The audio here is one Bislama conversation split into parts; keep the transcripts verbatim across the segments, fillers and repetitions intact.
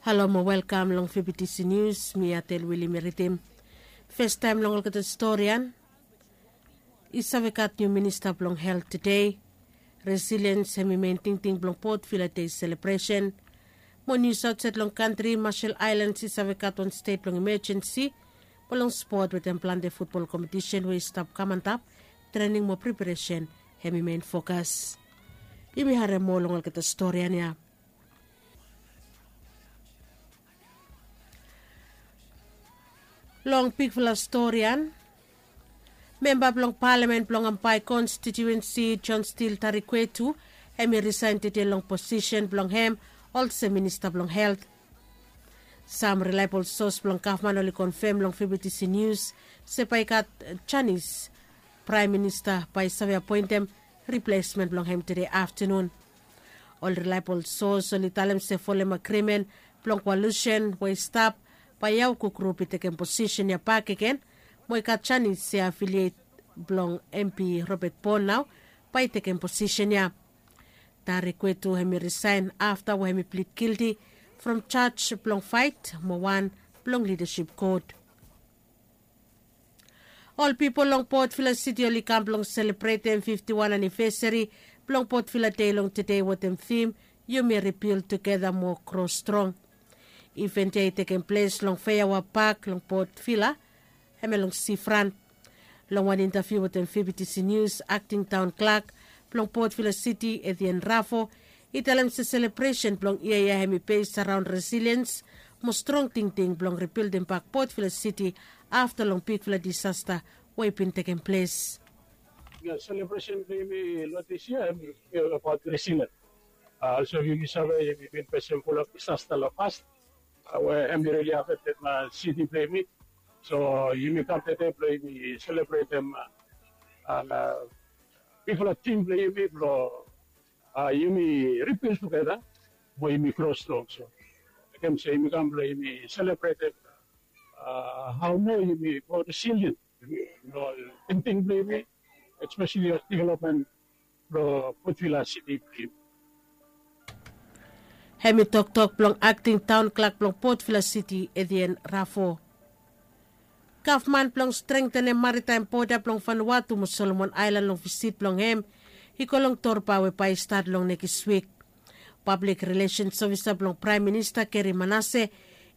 Halo mo welkam long F B T C News, mi Atel Wili mi ridim. Festaem long olgeta storian. I save gat niu minista blong helt tede. Resiliens hem i men tingting blong Port Vila Dei selebresen. Mo nius aotsaed long kantri, Marshall Islands i save gat wan stet blong imejensi mo long spot wetem plante futbol kompetisen we i stap kam antap. Trening mo preparesen hem i men fokas. Yumi harem moa long olgeta storian ya. Long bigfala storian, memba blong palamen blong Ambae konstitiuensi John Steel Tarikwetu hem i risaen tede long posisen blong hem olsem minista blong helt. Sam rilaebol sos blong gavman oli konfem long F B T C News se bae i gat janis praem minista bae i save apoentem riplesmen blong hem tede aftanun. Ol rilaebol sos oli talem se folem agrimen blong koalusen we i stap, bae Yauku grup i tekem posisen ya bakegen, mo i gat janis se afiliet blong M P Robert Bon nao bae i tekem posisen ya. Tarikwetu hem i risaen afta we hem i plid gilti from jaj blong faet mo wan blong lidasip kot. Ol pipol long Port Vila Siti oli kam blong selebretem fifti wan anivesari blong Port Vila Dei long tede wetem tim, Yumi Ribil Tugeta Mo Gro Strong. Iven ya i tekem ples long Feawa Pak long Port Vila, hem ya long sifran. Long wan intaviu wetem F B T C News, akting taon klak blong Port Vila Siti, Etienne Rafo, i talem se selebresen blong yia ya hem i bes araon resiliens mo strong tingting blong ribildim bak Port Vila Siti afta long bigfala disasta we i bin tekem ples. Selebresen blong yumi long dis yia hem i abaot resiliens. Olsem yumi save yumi bin fesem fulap disasta long pas we hem i rili afektem siti blong yumi. So yumi kam tede blong yumi selebretem bigfala tim blong yumi blong yumi ribil tugeta mo yumi gro strong. So mekem se yumi kam blong yumi selebretem hao moa yumi moa resilien long tingting blong yumi, espeseli ol developmen blong Port Vila Siti blong yumi. Hem i toktok blong akting taon klak blong Port Vila Siti, Etienne Rafo. Gavman blong strengtenem maritaem boda blong Vanuatu mo Solomon Aelan long visit blong hem i go long torba we bae i stat long nekis wik. Pablik rilesens ofisa blong Praem Minista Gary Manase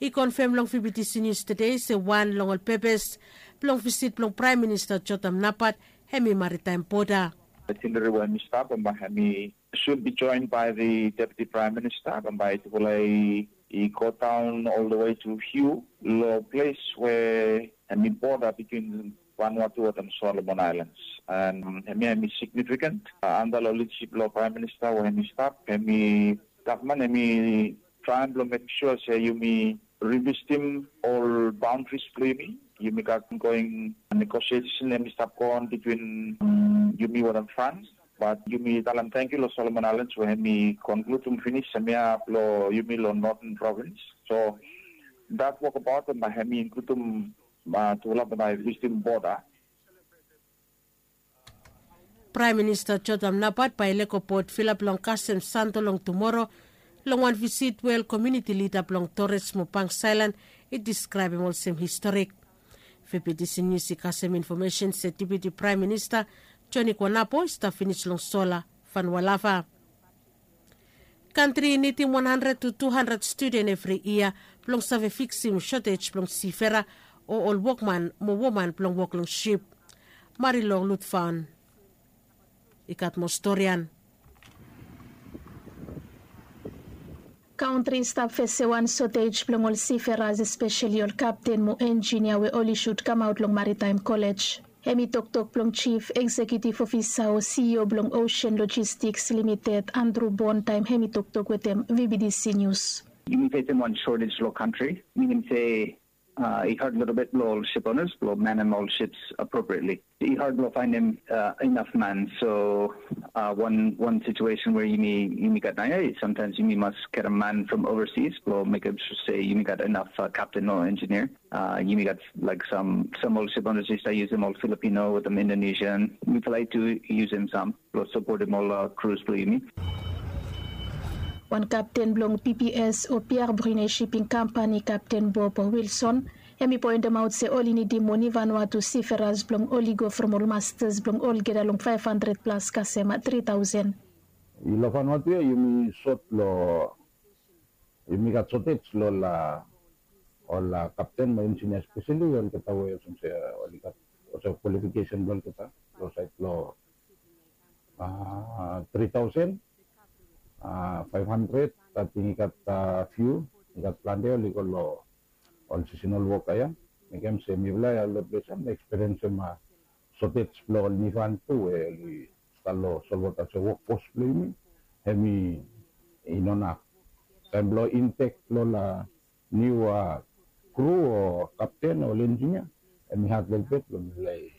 i konfem long V B T C News tede se wan long ol pepes blong visit blong Praem Minista Jotam Napat hem i maritaem boda. Itinerary we hem i stap bambae hem i should be joined by the Deputy Prime Minister bambae tufala i i go daon all the way to Hugh lo ples we hem i boda between Vanuatu wetem Solomon Islands. And hemia hem i significant anda lo lidasip blo Praem Minista we hem i stap, hem i gavman hem i traem blo mekem sua se yumi revisitim ol baondaris blo yumi. Yumi gat ongoing negosiesen hem i stap goon between yumi wetem Frans. Bat yumi talem tangkiu lo Solomon Aelan we hem i konkludim finis hemia blo yumi lo Northern Provins. So dat wokabaot bae hem i inkludim tufala bae i visitim boda. Praem Minista Jotam Napat bae i lego Port Vila blong kasem sando long tumoro long wan visit we ol komuniti lida blong Torres mo Banks Aelan i diskraebem olsem historik. V B T C News i kasem infomesen se Deputi Praem Minista Joni Guanapo i stap finis long sola Vanualava. Kantri i nidim wan handred tu tu handred studen evri yia blong save fiksim sotej blong sifera o ol wokman mo woman blong wok long sip. Marilong Lutfaon i gat moa storian. Kantri i stap fesem wan sotej blong ol siferas, espeseli ol kapten mo enjinia we oli sud kamaot long Maritaem Kolej. Hem i toktok blong Jif Eksekiutiv Ofisa o C E O blong Ocean Logistics Limited, Andrew Bond, taem hem i toktok wetem V B T C News. Yumi fesem wan shortage lo kantri, minim se i had lelebet blo ol ship owners blo manem ol ships appropriately. I had blo faenem inaf man. So wan wan situesen we yumi yumi gat naoia, sometimes yumi mas getem man from overseas blo mekem sua se yumi gat inaf kapten o enjinia. Yumi gat laek sam sam ol ship owners i stap yusum ol Filipino wetem Indonesian. Mifala i tu yusum sam blo sapotem ol krus blo yumi. Wan kapten blong pps o piar brune shiping kampani kapten bob wilson, hem i poentemaot se oli nidim moni vanua tu siferas blong oli go from ol mastas blong olgeta long faef handred plas kasem tri taosen. I long vanua tu ya yumi sot long yumi gat sotet long ol ol kapten mo injinia speseli olgeta we olsem se oli gat olsem kwalifikesen blong olgeta long sait blong tri taosen faef handred. Ating i gat fiu i gat plante oli go long ol sisinol woka ya. Mekem se mifala ya long ples ya mi ekspiriensem sotet blong ol nifan tu we oli stap long solwota se wokfos blong yumi hem i no naf taem blong intek long ol niu kru o kapten o ol enjinia. Hem i hat lelbet blong mifala i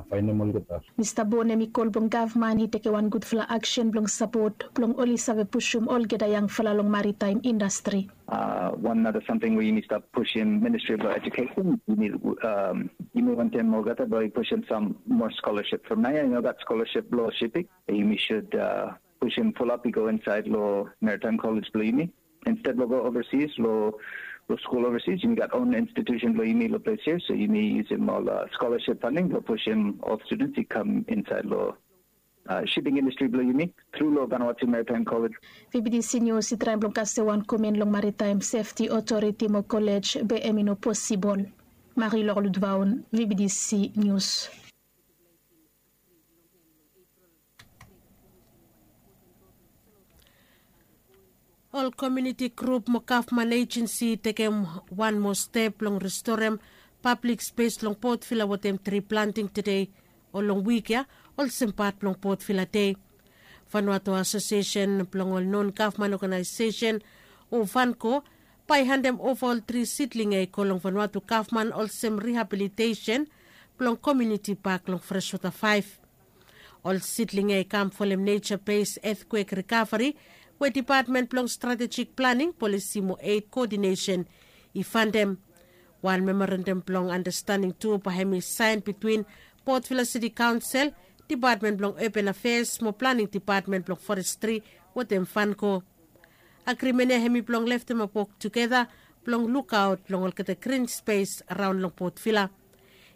faenem olgeta. Mista bon hem i kol blong gavman i tekem wan gudfala aksen blong sapot blong oli save pusum olgeta yangfala long maritaem indastri. Wan nata samting we yumi stap pusim ministri blong ejukesen yumi wantem olgeta blong i pusim sam moa skolaship from naoia i no gat skolaship blong shiping. Yumi sud pusim fulap i go insaed long maritaem kolej blong yumi. Insted blong go ovasis long skul ovasis yumi gat on institusen blong yumi long ples ya so yumi yusim ol skolaship faning blong pusim ol studens i kam insaed long shiping indastri blong yumi tru long vanwatu maritaem kolej. Vbtc nius i traem blong kasem wan komen long maritaem sefti otoriti mo kolej be hem i no posibol. Mari lorludvaon vbtc nius. Ol komiuniti grup mo gavman ejensi i tekem wan moa step blong restorem pablik spes long potvila wetem tri planting tede o long wik ya olsem pat blong potvila dei. Vanuatu asosiesen blong ol non gavman oganaesesen o vanko bae i handem ova ol tri sidling ya i go long vanuatu gavman olsem rihabilitesen blong komiuniti pak long freswota faef. Ol sidling ya i kam folem neja bes etkwek rikaveri we depatmen blong stratejik planing polisi mo ed koodinesen i fandem. Wan memorandam blong andastanding tu bae hem i saen bitwin potvila siti kaonsel, depatmen blong open afeas mo planing depatmen blong forestri wetem fanko. Agrimen ya hem i blong leftemap wok tugeta blong lukaot long olgeta grin spes raon long potvila.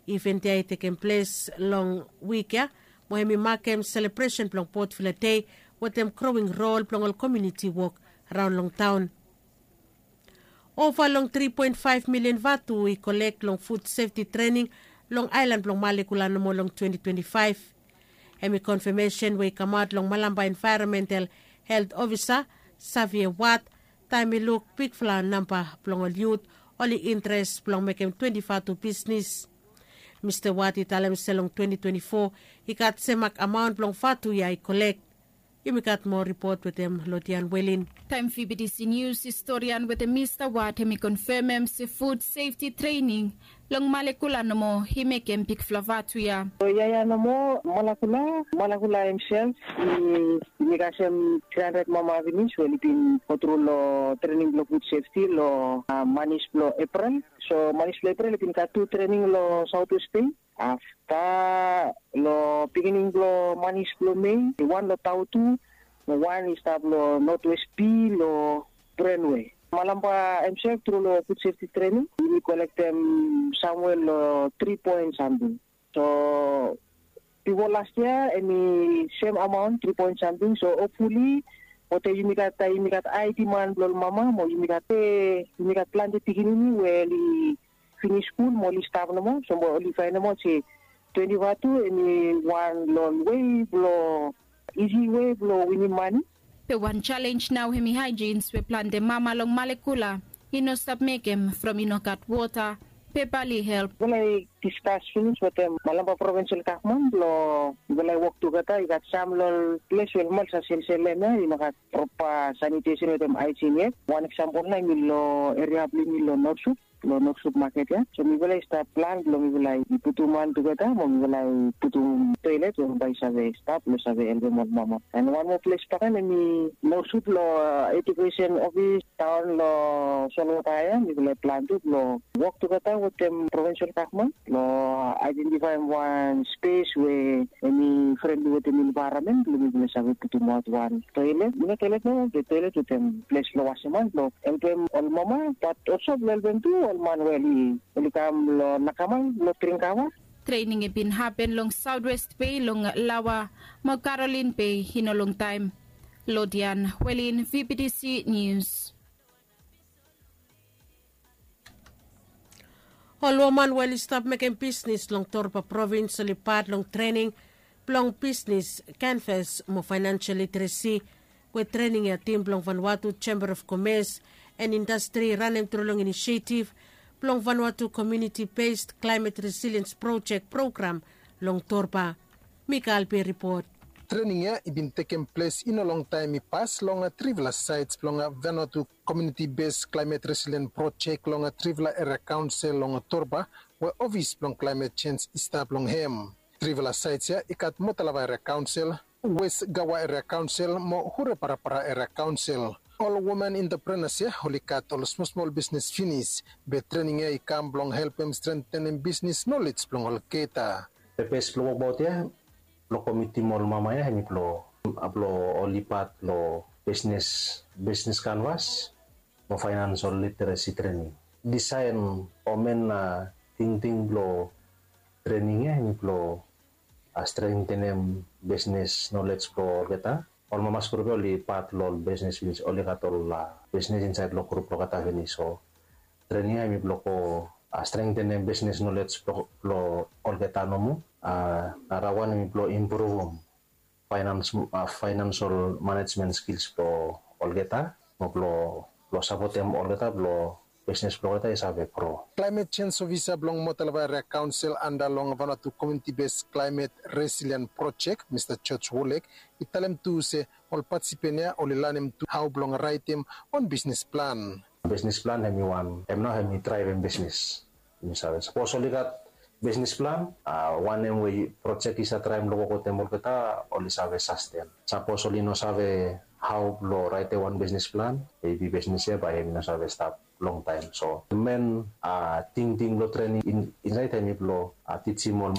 Iven ya i tekem ples long wik ya mo hem i makem selebresen blong potvila dei wetem growing rol blong ol komiuniti wok raon long taon. Ova long tri poen faef milian vatu i kolek long fud sefti trening long aelan blong malekula nomo long twenti twenti faef. Hem i konfamesen we i kamaot long malamba envaeronmental helt ofisa savia wat taem i luk bigfala namba blong ol yut oli interes blong mekem twenti vatu bisnis. Mista wat i talem se long twenti twenti fo i gat semak amaon blong vatu ya i kolek. Yumi gat moa ripot wetem lodian welin. Taem vbtc nius i storian wetem mista wat hem i konfamem se fud sefti trening long malekula nomo i mekem bigfala vatu ya. So yaya nomo malakula malakula hemsel i megasem tri handred mama finis we oli bin gotru long trening blong fud sefti long manis blong eprel. So manis blong eprel i bin gat tu trening long saotwest stet afta long pikinini blong manis blong mei, wan long tautu mo wan i stap long notwest pi long brenwe. Malamba hemsel tru long fud sefti trening yumi kolektem samwe long tri poen samting. So bifo las yia em i sem amaon tri poen samting so hopfuli wetem yumi gat ai diman blong ol mama mo yumi gat pe yumi gat plante pikinini we oli finis skul mo oli stap nomo so mo oli faenem aot se twenti vatu em i wan long wei blong isi wei blong winim mani. Be wan jalenj nao hem i haejins we plante mama long malekula i no stap mekem from i no gat wota. Pepa oli help. Mifala i diskas finis wetem malamba provinsel gavman blong mifala i wok tugeta i gat sam long ol ples we mifala sa selselem ya i no gat propa sanitesen wetem aejin yet. Wan eksampol nao em i long eria blong yumi long norsut. long Northwood Market ya. So mifala i stap plan blong mifala i putum han tugeta mo mifala i putum toilet we bae i save stap blong save helpem ol mama. And wan moa ples bakegen hemi Northwood long Education Office taon long Solwota ya, mifala i plan tu blong wok tugeta wetem provincial gavman blong aedentifaem wan spes we hemi frendli wetem envaeronmen blong mifala i save putumaot wan toilet, i no toilet nomo be toilet wetem ples blong wasem han blong helpem ol mama, bat olso blong helpem tu ol man we oli kam long nakamal blong dring kawa. Trening i bin hapen long South West Bay, long Lawa mo Caroline Bay i no longtaem. Lodian Welin, V B T C News. Ol woman we oli stap mekem bisnis long Torba provins oli pat long trening blong bisnis, kanvas mo faenansel literesi we trening ya tim blong Vanuatu Chamber of Commerce and Industry i ranem tru long inisietif blong Vanuatu Community Based Climate Resilience Project program long Torba. Mikael Pe ripot. Trening ya i bin tekem ples i no longtaem i pas long trifala saets blong Vanuatu Community Based Climate Resilience Project long trifala eria kaonsel long Torba we ofis blong climate change i stap long hem. Trifala saets ya i gat Motalava Eria Kaonsel, Wes Gawa Eria Kaonsel mo Hureparapara Eria Kaonsel. Ol woman enteprenas ya oli gat ol smolsmol bisnis finis, be trening ya i kam blong helpem strengtenem bisnis nolej blong olgeta. Pepes blong wokbaot ya blong komitim ol mama ya hemi blong, blong oli pat long bisnis, bisnis kanvas mo faenansel literesi trening. Disaen o men tingting blong trening ya hemi blong strengtenem bisnis nolej blong olgeta. Ol mamas grup ya oli pat long ol bisnis finis, oli gat ol bisnis insaed long grup blong olgeta finis. So trening ya hemi blong go strengtenem bisnis nolej blong olgeta nomo. Nara wan hemi blong impruvum faenansel manejmen skils blong olgeta mo blong sapotem olgeta blong bisnis blong olgeta i save gro. Climate Change Ofisa blong Motalava Eria Kaonsel anda long Vanuatu Community Based Climate Resilience Project, Mista George Wolek, i talem tu se ol patisipen ya oli lanem tu hao blong raetem wan bisnis plan. Bisnis plan hemi wan, hem nao hemi draevem bisnis. Yumi save sapos oli gat bisnis plan, wanem we projek i save traem long wok wetem olgeta, oli save sasten. Sapos oli no save hao blong raetem wan bisnis plan, mebi bisnis ya bae hemi no save stap longtaem. So men tingting blong trening insaed hemi blong tijim ol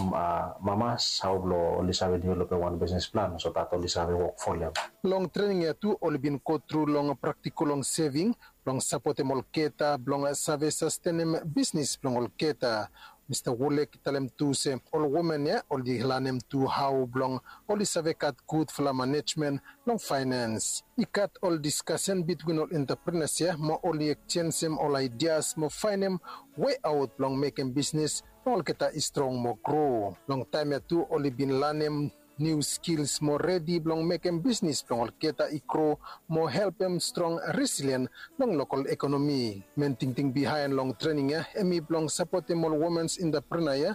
mamas hao blong oli save developem wan bisnis plan so dat oli save wok folem. Long trening ya tu oli bin gotru long praktikol long seving blong sapotem olgeta blong save sastenem bisnis blong olgeta. Mista Wolek i talem tu se ol woman ya oli lanem tu hao blong oli save gat gudfala manejmen long faenans. I gat ol diskasen bitwin ol enteprenas ya mo oli ekjenjem ol aidias mo faenem weaot blong mekem bisnis blong olgeta i strong mo gro. Long taem ya tu oli bin lanem niu skils mo redi blong mekem bisnis blong olgeta i gro mo helpem strong resilien long lokol ekonomi. Men tingting bihaen long trening ya hemi blong sapotem ol womens enteprena ya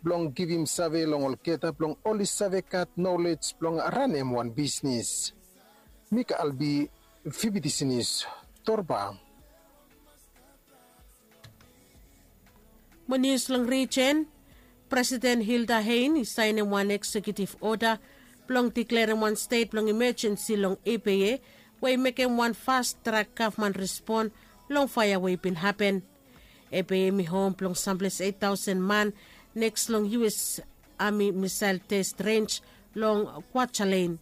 blong givim save long olgeta blong oli save gat nolej blong ranem wan bisnis. Mika Albi, V B T C News, Torba. Mo nius long rijen, Presiden Hilda Hein i saenem wan eksekiutiv oda blong diklerem wan stet blong imejensi long Ebeye we i mekem wan fast trak gavman respon long faea we i bin hapen. Ebeye hemi hom blong samples eit taosen man neks long U S Ami misael tes renj long Kwajalein.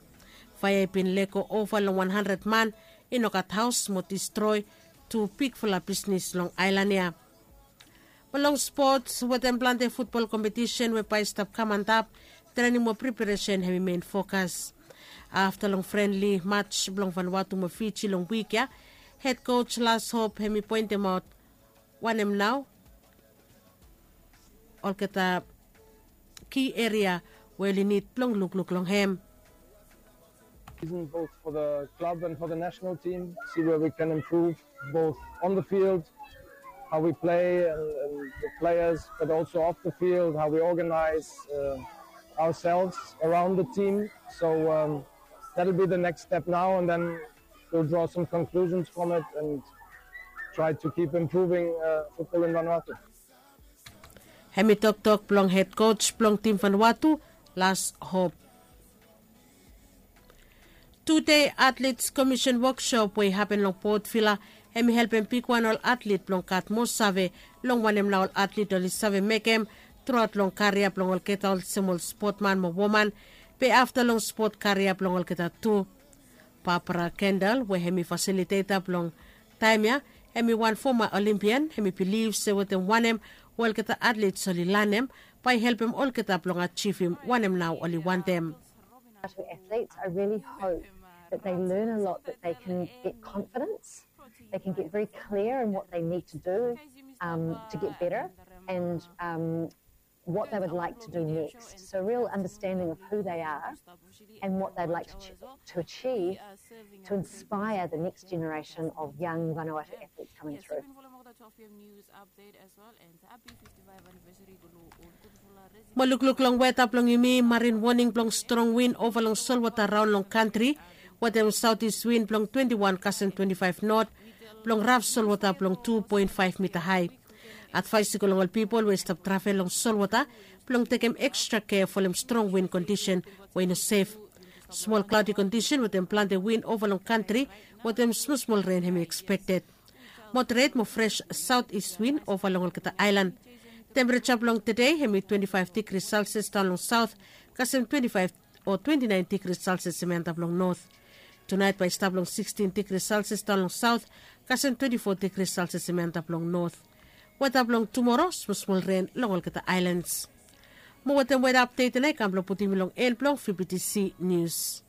Faea i bin lego ova long wan handred man, i no gat haos mo distroe tu bigfala bisnis long aelan ya. Mo long spots, wetem plante futbol kompetisen we bae i stap kam antap, trening mo preparesen hemi men fokas. Afta long frenli maj blong Vanuatu mo Fiji long wik ya, hed koj Las Hop hemi poentemaot wanem nao olgeta ki eria we oli nid blong lukluk long hem. Season both for the club and for the national team, see where we can improve both on the field, how we play and, and the players, but also off the field, how we organize uh, ourselves around the team. So um, that'll be the next step now, and then we'll draw some conclusions from it and try to keep improving uh, football in Vanuatu. Hem i toktok blong hed coach blong tim Vanuatu, Lars Hop. Tude Athletes Commission workshop we i hapen long Port Vila, hem i helpem bigwan ol atlet blong gat moa save long wanem nao ol atlet oli save mekem truaot long karia blong olgeta olsem ol spotman mo woman, be afta long spot karia blong olgeta tu. Barbara Kendall we hem i fasiliteta blong taem ya, hem i wan foma Olimpian, hem i bilif se wetem wanem we olgeta atlets oli lanem bae i helpem olgeta blong ajivim wanem nao oli wantem. Vanuatu athletes, I really hope that they learn a lot, that they can get confidence, they can get very clear in what they need to do um, to get better, and um, what they would like to do next. So, a real understanding of who they are and what they'd like to, ch- to achieve to inspire the next generation of young Vanuatu athletes coming through. Mo lukluk long weta blong yumi, marin woning blong strong win ova long solwota raon long kantri, wetem saotis win blong twenti wan kasem twenti faef not, blong raf solwota blong tu poen faef mita hae. Advaes i go long ol pipol we i stap travel long solwota blong tekem ekstra kea folem strong win kondisen we i no sef. Smol klaodi kondisen wetem plante win ova long kantri, wetem smosmol ren hem i ekspekted. Moderet mo fres saotis win ova long olgeta aelan. Tempereja blong tede hem i twenti faef digri selsias daon long saot, kasem twenti faef o twenti naen digri selsias hem i antap long not. Tunaet bae i stap long sikstin digri selsias daon long saot, kasem twenti fo digri selsias hem i antap long not. Weta blong tumoro, smosmol ren long olgeta aelans. Mo wetem weta apdet ya nao i kam blong putum yumi long en blong vptc nius.